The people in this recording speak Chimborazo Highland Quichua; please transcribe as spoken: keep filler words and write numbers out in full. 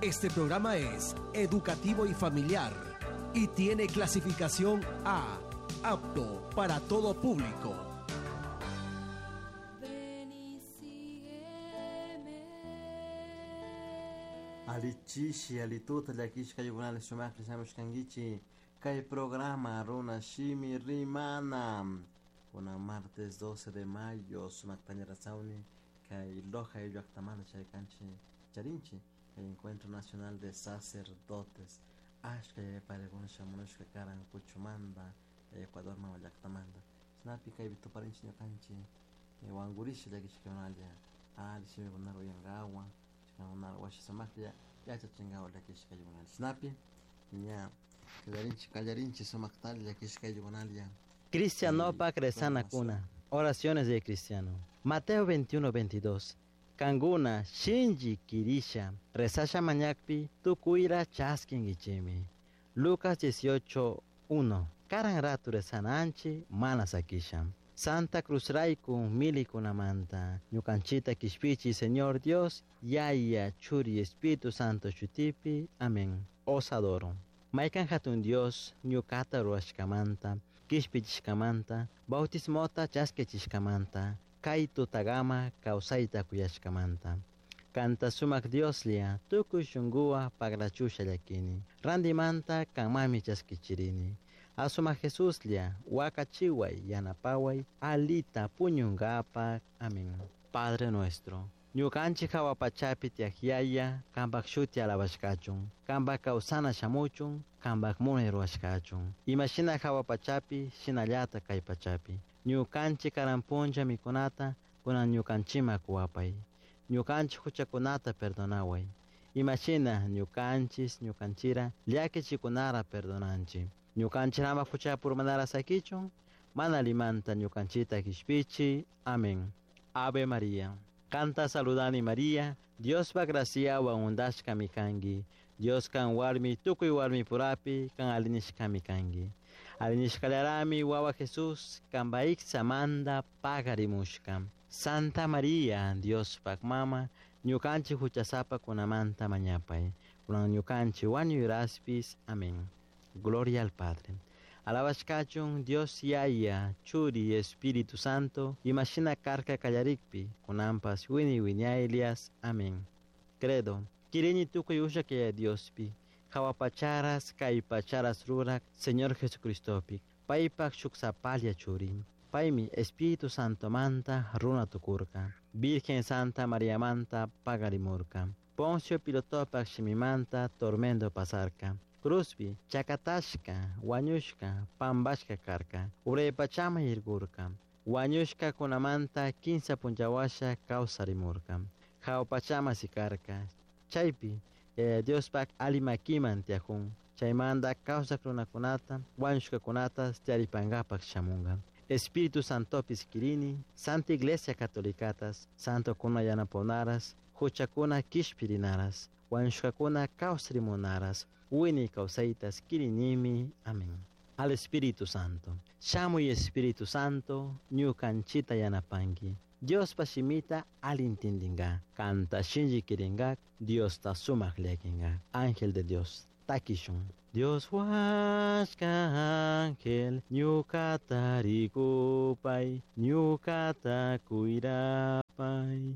Este programa es educativo y familiar y tiene clasificación A, apto para todo público. Ven y sígueme. Alichishi, alituta llakishka ayukunalla shumaqlla shamushkankichik kay programa Runa Shimi Rimana kunan martes doce de mayo sumakta rasawni kay Loja llaktamanta chaykanchik charinchik kay Encuentro Nacional de Sacerdotes ashka parekuna shamunushka karan kuchumanta Ecuador mama llaktamanta chaynapi kaypi tuparinchik ñukanchik wankurisha llakishkakunalla alli shimikunata uyankawan chaykunata washa sumaklla yachachinkawan llakishka ayukunalla chaynapi ña kallarinchik kallarinchik sumaktalla llakishka ayukunalla. Cristianopak rezanakuna. Oraciones de cristiano. Mateo veintiuno veintidós. Kanguna shinji kirisha rezasha mañakpi tukuira chaskingichimi. Lucas dieciocho uno. Karan ratu rezananchi mana sakisha. Santa Cruz raiku milikunamanta. Ñukanchita kishpichi Señor Dios, Yaya, Churi, Espíritu Santo shutipi. Amén. Os adoro. Maikan hatun Dios, ñukata ruashkamanta, kishpichishkamanta, bautismota chaskechishkamanta, kay tutagama kawsayta kuyashkamanta. Kanta sumak Dioslia, tukuy shunguwa pagrachusha llakini. Randimanta kanmami chaskichirini. Asuma Jesuslia, wakachiway, yanapaway, alita puñungapak. Amén. Padre nuestro. Ñukanchik hawa pachapi tiyak yaya, kanpak shuti alabashkachun, kanpak kawsana shamuchun, kanpak munay ruwashkachun. Imashina hawa pachapi, shinallata kay pachapi. Ñukanchik karan punlla mikunata, kunan ñukanchima kuwapay. Ñukanchik huchakunata perdonaway. Imashina ñukanchis, ñukanchira, llakichikunara perdonanchik. Ñukanchik ama huchapurmanara sakichun, mana limanta ñukanchita kishpichi. Amén. Ave María. Canta saludani María, Dios va gracia wa undashka mikangi. Dios kan warmi tukuy warmi purapi kan alinishka mikangi. Alinishkalarami wawa Jesús kan baiksa manda pagarimushka. Santa María, Dios pak mama, ñukanchi huchasapa kunamanta mañapay. Kunan ñukanchi wañuyraspis. Amén. Gloria al Padre. Alabashkachun Dios Yaya, Churi, Espíritu Santo, imashina karka kallarikpi, kunampas wini wiñaylias. Amén. Credo. Kirini tukuy ushak Yaya Diospi, hawapacharas, kaypacharas rurak, Señor Jesucristopi, paypak shuksapalia churi. Paymi Espíritu Santo manta runa tukurka, Virgen Santa María manta pagarimurka, Poncio Pilotopak shimimanta tormento pasarka. Cruzpi, chakatashka, wañushka, pambashka karka, uraypachama yirgurka, wañushka kunamanta kinsa punchawasha kawsarimurka, hawpachama sikarka, chaypi, Yaya Diospak alimakiman tiajun, chaymanta kawsak runakunata, wañushkakunata tiaripankapak shamunka. Espíritu Santopis kirini, Santa Iglesia Catolicatas, Santo kuna yanaponaras, huchakuna kishpirinaras, wañushkakuna kawsarimunaras, wini kawsaytas kirinimi. Amén. Al Espíritu Santo. Shamuy Espíritu Santo, ñukanchita yanapanki. Dios pashimita alintindinga, kanta shinji kiringa, Dios ta sumak lekinga. Ángel de Dios, takishun. Dios huasca ángel, ñukata rikupay, ñukata kuirapay.